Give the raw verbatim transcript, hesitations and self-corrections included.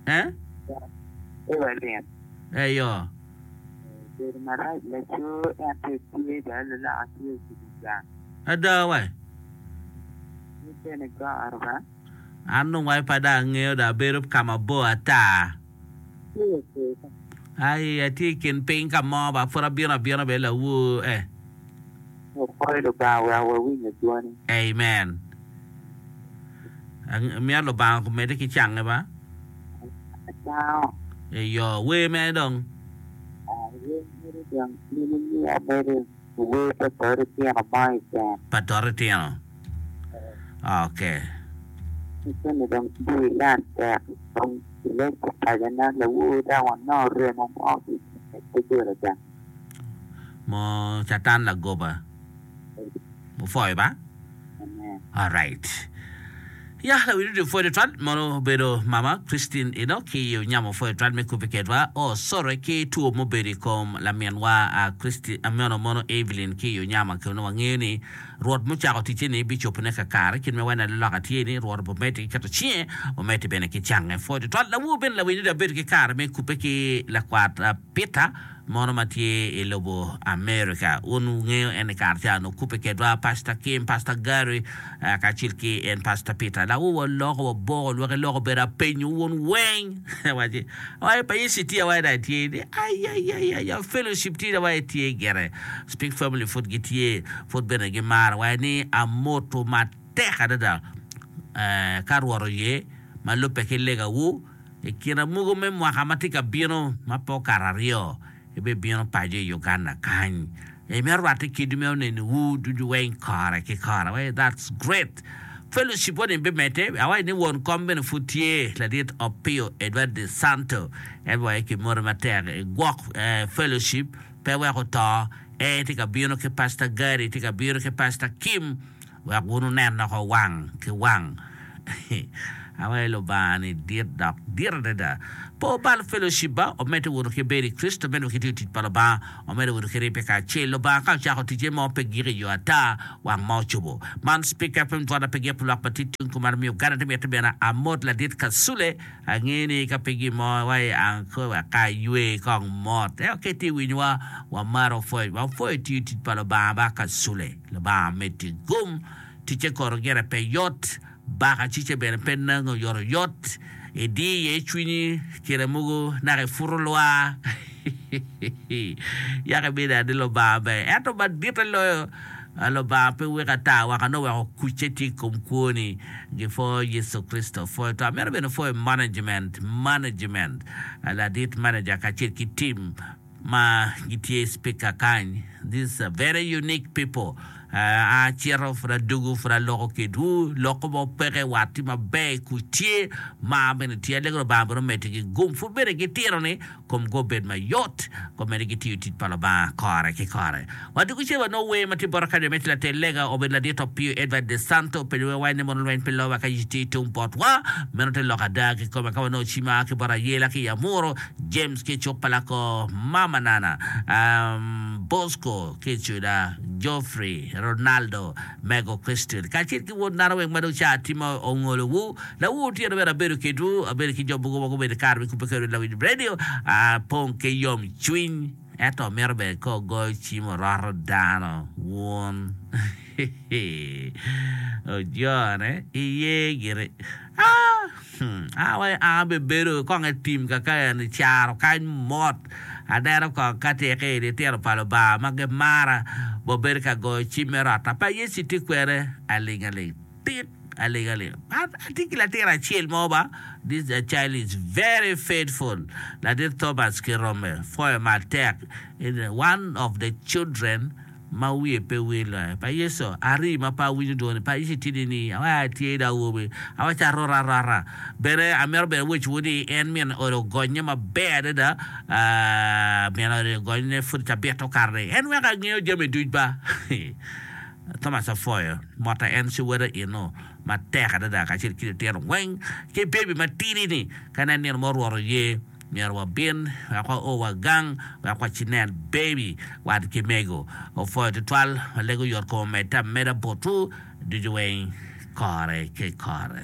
Eh? Evelyn. Eyo. Bedo marac laco ento tye dong lulaka tye ocubo gang. Ada wa. Ni bene goro ba. An dong wai pe dong angeyo dong abedo ka mabor ata. Tye oke. Ai atye i kin piny ka mo ba pud abino abina bene lawor eh. Opwoyo Lubanga wek wawinyo dwoni. Amen. Amito Lubanga omedde ki cange ba. Acango. Eyo, wer mere dong. Wer mere dong in imiya mere wer pa Tori Tino mo keken. Pa Tori Tino. Okay. Eni dong tye ilan tek dong ilec ki pacona lawor dok wanongo remo mo ki i doggola gang. Mo Catan lagoba. Opwoyo ba? Amen. Alright. Ya, lawil ducu pwoyo twatwal mono obedo mama Christine eno ki onyamo pwoyo twatwal me kubbe kedwa. Oh, sorry ki two mubedo i kom laminwa uh, Christine ameno mono Evelyn ki onyama keno wangeyo ni Rwot mucako ticce ni bicobone kakare kit me wena laloka tye ni Rwot obomedde ki keto cinge omedde bene ki cange pwoyo twatwal lawur bene lawil ducu abedo ki kare me kubbe ki lakwat uh, Peter mono ma tye i lobo America. Un wungeyo en i kare ca no kubbe kedwa Pastor Kim, Pastor Gary uh, kacel ki en Pastor Peter. Lawu waloko waboko lwaki loko obedo apenyo wun weng. Waci, "Oi, pa Yecu tye awaci dong tye ni ai ai ai ai fellowship tye awaci tye gire. Speak Family pud gitye pud bene gimaro awaci ni amoto matek adada eh, ka Rwot oye ma lubbe ki legawu i kine mogo me mwaka ma tye ka bino ma pe okato aryo ibibino paco i Uganda kany. Imito rwatte kidi me onenowu ducu weng kore ki kore. Awaci that's great. Fellowship wani bimedde awaci ni won kom bene pud tye ladit Opio Edward De Santo en waci ki moto matek igwok eh, fellowship pe wek oto en tye ka bino ki Pastor Gary tye ka bino ki Pastor Kim wek wun wunen loko wang ki wang. Awaci Lubanga ni dit dok dit adada. Po obal fellowship ba omedde wunu ki bedo i Kristo omedde ki tiyo tic pa Lubanga omedde wunu ki ribbe kacel. Lubanga ka ocako ticce mo pe gik i yo ata wang ma ocobo. Man Speak F M twara pe gik lwak ma tye tung kumalo me Uganda te mitte bene amot ladit Kasule angeyo ni ka pe gin mo wai anko wek ka aywe kong mot. Ento ka itye winyowa wamaro pwoyo wapwoyo tiyo tic pa Lubanga ba Kasule. Lubanga meddi gum ticce kono gire pe yot baka cice bene pe nango oyotoyot idi iye cwinyi kine mogo naka iputo lwar yaka ibedo adi Lubanga ber ento madite loyo Lubanga pe weko ata waka nongo weko kucce tye i kom kwoni gipwoyo Yecu Kricito pwoyo to amito bene pwoyo management management ladit manager kacel ki team ma gitye speaker kany. These are very unique people. Uh, acito pud adugu pud aloko kedwu loko mo peke wat tye maber kuc tye mar bene tye alego Lubanga bene omeddi gum pud bene gitino ni komgi obed mayot komedi gitiyo tic pa Lubanga kore ki kore. Wadugu ce wanongo wer ma tye bota kany me latel lega obedo ladit Opio Edward De Santo openyo wer wai ni mono lweny pe lowa ka Yecu tye tung botwa meno te lok ada ki kome ka wanongo cima ki bota Ayela ki Amuro James ki cuk palako Mama Nana um, Bosco ki Cuda Geoffrey Ronaldo Mego Christian kacel ki wod nano weng ma dong ca timo ongolowu lawu tye bene abedo kedwu abedo ki jo mogo ma gubedo kare me kubbe kwedwu lawiny radio apong ki yom cwiny ento mito bene ka ogoyo cim oroto dano wun ojone iye gire ah hmm, ah wai an bebedo kong e tim kaka en caro kany mot aneno kong ka tye ki litino pa Lubanga ma gimara bobedo ka goyo cim me rota pa Yecu tye kwede aling aling tik aling aling atye ki latin acel mo ba this child is very faithful ladit Thomas Kirome pwoyo matek one of the children ma wiye pe wil pa Yecu ari ma pe awinyo dwoni pa Yecu tye ni awai atye da awobi awaco arota arota bene amito bene wecowu ni en min ode ogonye maber adada min ode ogonye pud cabit okato-ni en weko angeyo jami duc ba Thomas apwoyo mota en ci wode eno matek adada kacel ki litino weng ki bebi matidi ni ka nen nino mo Rwot oye myero wabin wek wao wagang wek wacinen baby wat ki mego opwoyo tutwal walego yot kom omedde ameda botwu ducu weng kore ki kore.